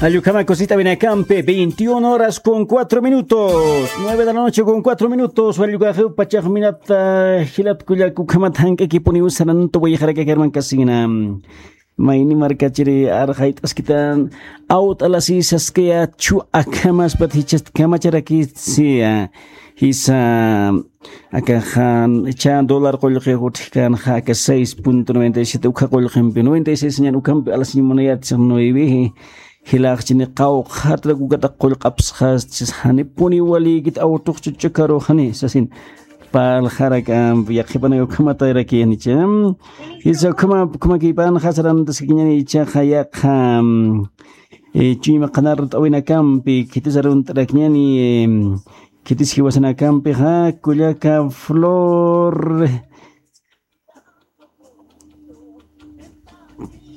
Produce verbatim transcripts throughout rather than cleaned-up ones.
Jallukama cosita vinakampi, veintiuna horas con cuatro minutos. Nueve de la noche con cuatro minutos. Jallukama pachax minata, jilat kullak ukhamat jank'akipuni usarantu wayjarakakarman kasina. Mayni markachiri arxayt'askitan awt'alasi saskaya chu akhamaspat jichast kamacharaki siya. Jisa akaxan cha dólar qullqi utjkan jaka seis punto noventa y siete ukha qullqimpi noventa y seis ñan ukhampi alasiñ munayat nueve. Jilaxchini qawqhatrak ukataq qullq'apsxas chis janipuni walikit awtuxchu ch'ukaru jani sasin. Palxarak ampi yaqhipanaka ukhamatayrakiyanicha. Jisa ukhama ukhamakiypan jasarantaskiñani ichaxa yaqha. Chuyma qhanar t'awinakampi khitis arunt'arakñani. Khitis jiwasanakampixa kullaka flor.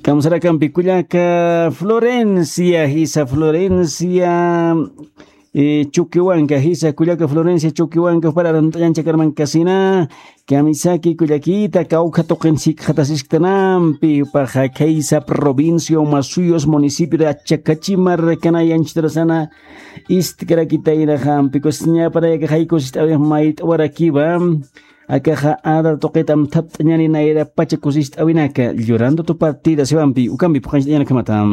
Kamsarakampi kullaka Florencia, jisa Florencia. Chukiwanka jisa kullaka Florencia chukiwanka para arunt'añanchakarman kasina. Kamisaki kullakita kawkha tuqin sikxatasisktanampi paxa khaysa provincia umasuyos municipio de achakachimar kanayanchitarasana. Istkarakitaynaxampi kusiñapanayaka jaykusist'awinax mayt'awarakiwa. Akaxa adar tuqitam thapt'añani nayrapacha kusist'awinaka llorando tu partida siwampi ukampi phuqanchit'añanakamatam.